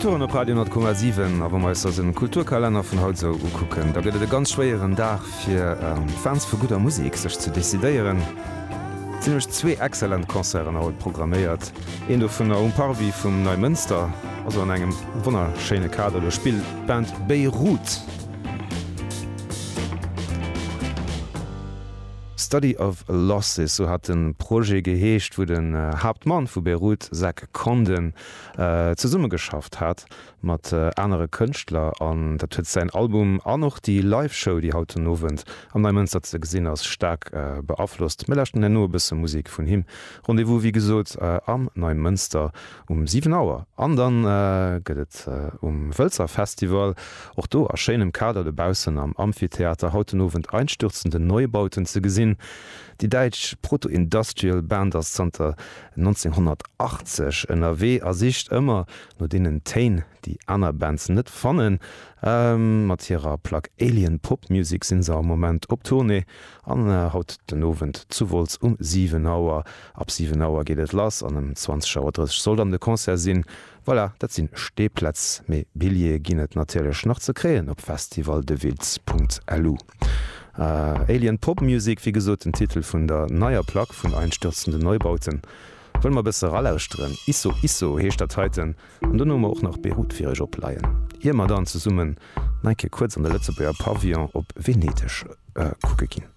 Kulturen op Radio 10,7 a wa mer eis eisen Kulturkalenner vun haut esou ukucken, da gëtt et e ganz schwéieren Dag fir Fans vu gudder Musek sech ze decidéieren. Et sinn nämlech zwee excellent Concerten haut programméiert, een dovunner um Parvis vum Neimënster, also an engem wonnerschéine Kader, do spillt d'Band Beirut. Study of Losses, sou hat de Projet geheescht, wou den Haaptmann vu Beirut, Zach Condon, zesummegeschafft hat mat anere Kënschtler. An dat huet säin Album an och déi Live-Show, déi haut den Owend am Neimënster ze gesinn ass, staark beaflosst. Mir lauschten herno e bësse Musek vun him. Rendez-vous wéi gesot am Neimënster um 7 Auer. An dann gëtt et um Wëlzer Festival, och do a schéinem Kader dobaussen am Amphitheater, haut den Owend Einstürzende Neubauten ze gesinn. Déi däitsch Proto-Industrial Band ass zanter 1980 ënnerwee a sicht ëmmer no deenen Téin, déi aner Bands net fannen. Mat hirer Plack Alien Pop Music sinn se am Moment op Tournée An haut den Owend zu Wolz um 7 Auer. Ab 7 Auer geet et lass an ëm 20 Auer 30 soll dann de Concert sinn. Voilà, dat sinn Stehplätz, mee Billjeeë ginn et natierlech nach ze kréien op festivaldewiltz.lu. Alien Pop Music, wéi gesot den Titel vun der neier Plack vun Einstürzende Neubauten. Wëlle mer e bësse ralauschteren. Isso Isso heescht dat heiten. An dono hu mer och nach Beirut fir iech opleien, ier mer dann zesummen nach eng Kéier kuerz an de Lëtzebuerger Pavillon op Venedeg kucke ginn.